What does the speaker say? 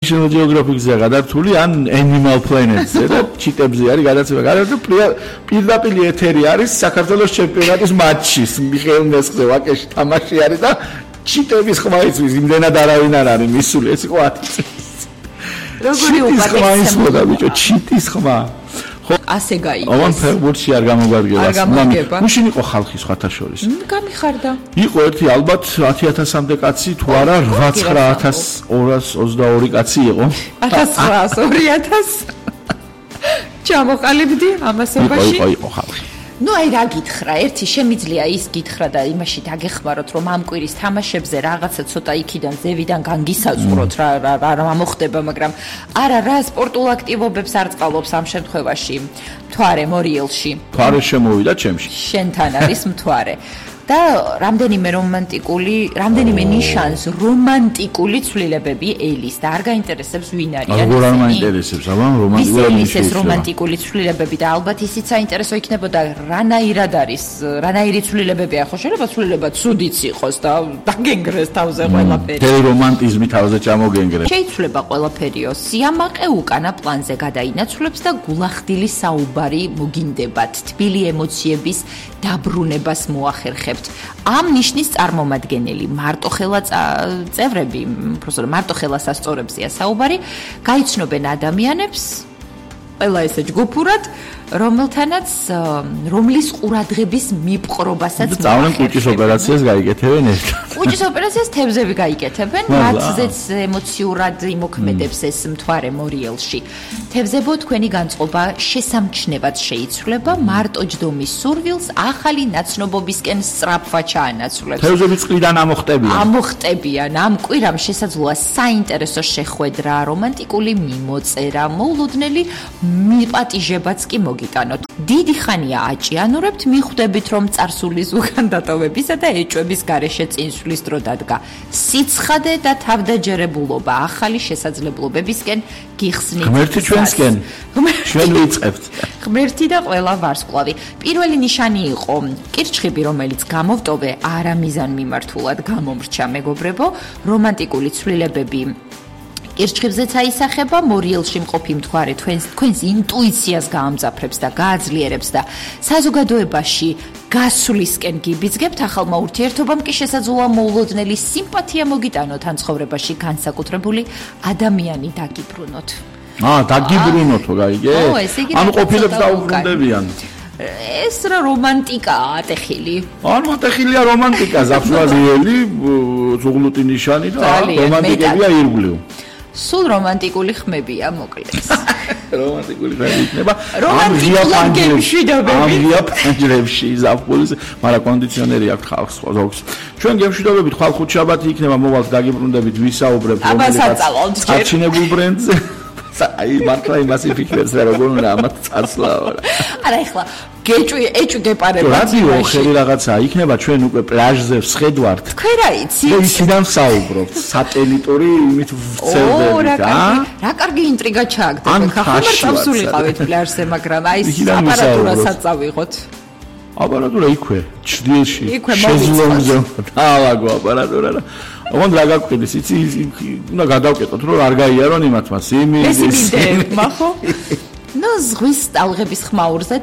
National Geographic-ზე გადართული ან Animal Planet-ზე და ჩიტებზე არის გადაცემა. გადართული პირდაპირ ეთერი არის საქართველოს ჩემპიონატის მატჩი. მიხეილ მესხზე ვაკეში თამაში არის და ჩიტების ხმა იცვის, იმდენად არავინ არ არის მისული, ეს იყო 10 წელს. როგორი უპატეცია ბიჭო, ჩიტის ხმა. ასე გაიგეს. ამან ფეხბურთში არ გამოგვარგება. მაშინ იყო ხალხი სხვათა შორის. გამიხარდა. იყო ერთი ალბათ 10000-მდე კაცი თუ არა 89222 კაცი იყო. 1900 2000 ჩამოყალიბდი ამასობაში. იყო ხალხი. ნუ აი რა გითხრა, ერთი შემიძლია ის გითხრა და იმაში დაგეხმაროთ, რომ ამ კვირის თამაშებზე რაღაცა ცოტა იქიდან ზევიდან განგისაწყროთ რა მოხდება, მაგრამ არა რა სპორტულ აქტივობებს არ წყალობს ამ შემთხვევაში. მთვარე მორიელში. მთვარე შემოვიდა ჩემში. შენთან არის მთვარე. და რამდენიმე ნიშანს რომანტიკული ცვლილებები ელის და არ გაინტერესებს ვინ არიან ისინი. არ მაინტერესებს, აბა რომანტიკული ეს რომანტიკული ცვლილებები და ალბათ ისიც საინტერესო იქნებოდა რანაირად არის, რანაირი ცვლილებებია, ხო შეიძლება ცვლილება ცუდიც იყოს და დაგენგრეს თავზე ყველაფერი. რომანტიზმი თავზე ჩამოგენგრეს. შეიძლება ყველაფერიო, სიამაყე უკანა პლანზე გადაინაცვლებს და გულახდილი საუბარი მოგინდებათ, თბილი ემოციების დაბრუნებას მოახერხებთ. ამ ნიშნის წარმომადგენელი მარტოხელა წევრები, უბრალოდ მარტოხელა სასწორებზეა საუბარი, გაიცნობენ ადამიანებს, ყველა ესე ჯგუფურად, რომლის ყურადღების მიპყრობასაც მოახერხებენ. კუჭის ოპერაციას გაიკეთებენ ერთად. კუჭის ოპერაციას თევზები გაიკეთებენ, მათზეც ემოციურად იმოქმედებს ეს მთვარე მორიელში. თევზებო, თქვენი განწყობა შესამჩნევად შეიცვლება, მარტო ჯდომის სურვილს ახალი ნაცნობობისკენ სწრაფვა ჩაანაცვლებს. თევზები წყლიდან ამოხტებიან. ამ კვირამ შესაძლოა საინტერესო შეხვედრა, რომანტიკული მიმოწერა, მოულოდნელი მიპატიჟებაც კი მოგიტანოთ. დიდი ხანია აჭიანურებთ, მიხვდებით, რომ წარსულის უკან დატოვებისა და ეჭვების გარეშე წინსვლის დრო დადგა. სიცხადე და თავდაჯერებულობა ახალი შესაძლებლობებისკენ გიხსნით. ღმერთი ჩვენსკენ. ჩვენ ვიწყებთ. ღმერთი და ყველა ვარსკვლავი. პირველი ნიშანი იყო კირჩხიბი, რომელიც გამოვტოვე არამიზან მიმართულად გამომრჩა, მეგობრებო, რომანტიკული ცვლილებები კირჩხიბზეც აისახება, მორიელში მყოფი მთვარე თქვენს ინტუიციას გაამძაფრებს და გააძლიერებს და საზოგადოებაში გასვლისკენ გიბიძგებთ, ახალმა ურთიერთობამ კი შესაძლოა მოულოდნელი სიმპათია მოგიტანოთ, ან ცხოვრებაში განსაკუთრებული ადამიანი დაგიბრუნოთ. დაგიბრუნოთო, გაიგე? ანუ ყოფილებს დაუბრუნდებიან. ეს რა რომანტიკაა ატეხილი. ატეხილია რომანტიკა, ზაფხულიელი, ზუღლუტი ნიშანი და რომანტიკებია ირგვლივ. სულ რომანტიკული ხმებია, მოკლედ. რომანტიკული ხმები იქნება. ამღია პანჯრებში ზაფხულის, მაგრამ კონდიციონერი აქვს ხალხს ზოგს. ჩვენ გემშვიდობებით ხვალ ხუთშაბათი იქნება, მოვალთ დაგიბრუნდებით, ვისაუბრებთ რომელსაც არჩინებულ ბრენდზე. აი მართლა იმას იფიქრებს რა როგორ უნდა ამათ წარსლაო რა. არა ეხლა ეჭვი გეპარება. რადიო ხელი რაღაცა იქნება ჩვენ უკვე პლაჟზე ვსხედვართ. თქვენ რა იცით? და იქიდან ვსაუბრობთ. სატელიტური იმით ვცელდებით, რა კარგი ინტრიგა ჩააგდეთ. ხახარ წავსულიყავით პლაჟზე, მაგრამ აი აპარატურასაც წავიღოთ. აპარატურა იქვე, ჩრდილში, შეზლონგზე დაალაგო აპარატურა და ოღონდ რა გაგვყიდეს, იცი, უნდა გადავკეტოთ, რომ არ გაიარონ იმათმა სიმინდი. ხო? ნუ ზღვის ტალღების ხმაურზე